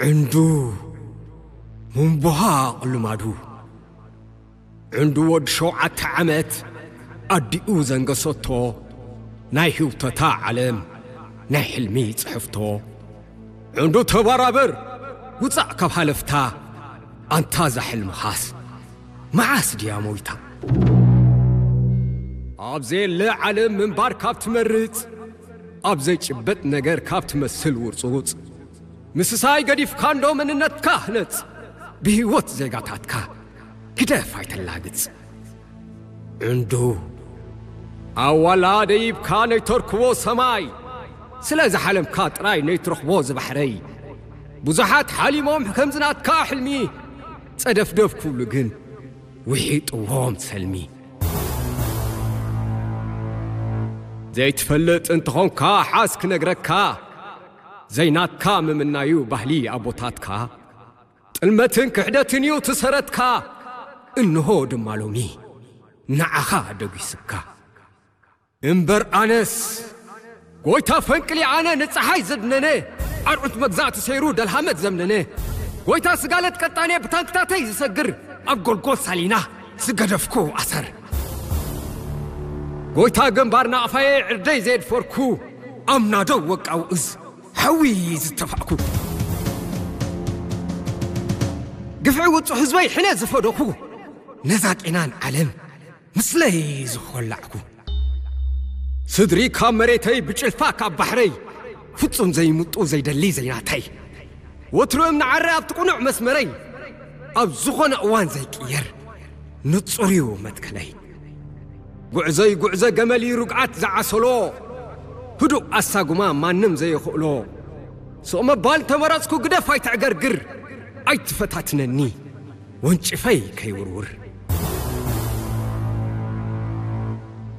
ዕንዱ ምንቡሃቕ ልማዱ። ዕንዱ ወዲ ሸውዓተ ዓመት ኣዲኡ ዘንገሰቶ ናይ ህውተታ ዓለም ናይ ሕልሚ ጽሕፍቶ። ዕንዱ ተባራበር ውጻእ ካብ ሃለፍታ ኣንታ ዛሕልምኻስ መዓስ ድያ ሞይታ? ኣብ ዘየለ ዓለም ምንባር ካብ ትመርጽ ኣብ ዘይጭበጥ ነገር ካብ ትመስል ውርጹጽ ምስሳይ ገዲፍካ እንዶ መንነትካ ህነጽ። ብህይወት ዜጋታትካ ግደፍ ኣይተላግጽ። ዕንዱ ኣዋላ ደይብካ ነይተርክቦ ሰማይ ስለ ዝሓለምካ ጥራይ ነይትረኽቦ ዝባሕረይ። ብዙሓት ሓሊሞም ከምዝናትካ ሕልሚ ጸደፍደፍ ክብሉ ግን ውሒጥዎም ሰልሚ። ዘይትፈልጥ እንተኾንካ ሓዝ ክነግረካ ዘይናትካ ምምናዩ ባህሊ ኣቦታትካ። ጥልመትን ክሕደትን እዩ ትሰረትካ። እንሆ ድማ ሎሚ ንዓኻ ደጒስካ። እምበር ኣነስ ጎይታ ፈንቅሊ ኣነ ንፀሓይ ዘድነነ ኣርዑት መግዛእቲ ሰይሩ ደልሃመት ዘምነነ ጎይታ ስጋለት ቀጣኔ ብታንክታተይ ዝሰግር ኣብ ጎልጎል ሳሊና ዝገደፍኩ ኣሰር ጎይታ ግንባር ናቕፋየ ዕርደይ ዘየድፈርኩ ኣምናዶ ወቃው እዝ ሓዊ ዝተፋእኩ ግፍዒ ውጹ ህዝበይ ሕነ ዝፈደኹ ነዛ ጤናን ዓለም ምስለይ ዝኾላዕኩ ስድሪ ካብ መሬተይ ብጭልፋ ካብ ባሕረይ ፍጹም ዘይምጡ ዘይደሊ ዘይናተይ ወትሩ እምኒ ዓረ ኣብቲ ቁኑዕ መስመረይ ኣብ ዝኾነ እዋን ዘይቅየር ንጹር እዩ መትከለይ። ጉዕዞይ ጉዕዞ ገመል እዩ ርግዓት ዝዓሰሎ ህዱእ ኣሳጉማ ማንም ዘየኽእሎ። ስቕ መባል ተመረጽኩ ግደፍ ኣይተዕገርግር ኣይትፈታትነኒ ወንጭፈይ ከይውርውር።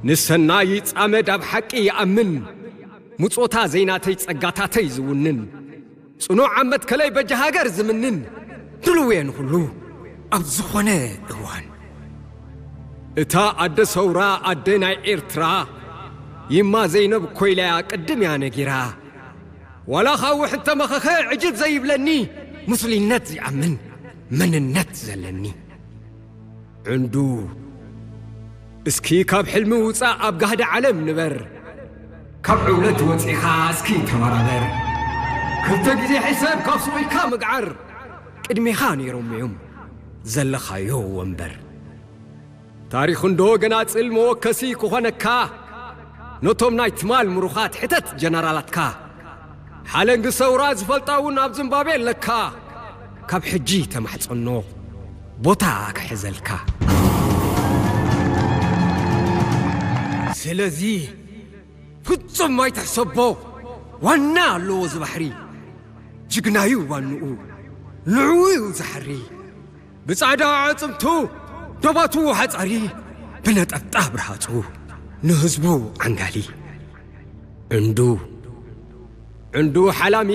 ንሰናይ ይጻመድ ኣብ ሓቂ ይኣምን ምጾታ ዘይናተይ ጸጋታተይ ዝውንን ጽኑዕ ኣብ መትከለይ በጃ ሃገር ዝምንን ድልው እየ ንኹሉ ኣብ ዝኾነ እዋን። እታ ኣደ ሰውራ ኣደ ናይ ኤርትራ ይማ ዘይነብ ኮይላያ ቅድም እያ ነጊራ። ዋላ ኻውሕ እንተመኸኸ ዕጅብ ዘይብለኒ ምስሊነት ዝኣምን መንነት ዘለኒ። ዕንዱ እስኪ ካብ ሕልሚ ውጻእ ኣብ ጋህዲ ዓለም ንበር። ካብ ዕውለት ወጺኻ እስኪ ተመራመር። ክልተ ግዜ ሕሰብ ካብ ስቕ ኢልካ ምግዓር። ቅድሜኻ ነይሮም እዮም ዘለኻዮ ወንበር። ታሪኽ እንዶ ገናጽል መወከሲ ክኾነካ ነቶም ናይ ትማል ምሩኻት ሕተት ጀነራላትካ። ሓለንጊ ሰውራ ዝፈልጣ እውን ኣብ ዝምባቤ ኣለካ። ካብ ሕጂ ተማሕጸኖ ቦታ ክሕዘልካ። ስለዚ ፍጹም ኣይትሕሰቦ ዋና ኣለዎ እዚ ባሕሪ ጅግናዩ ዋንኡ ንዕኡ እዩ ዝሓሪ ብጻዕዳ ኣዕጽምቱ ደባቱ ሓጻሪ ብነጠብጣብ ርሃጹ ንህዝቡ ዓንጋሊ ዕንዱ ዕንዱ ሓላሚ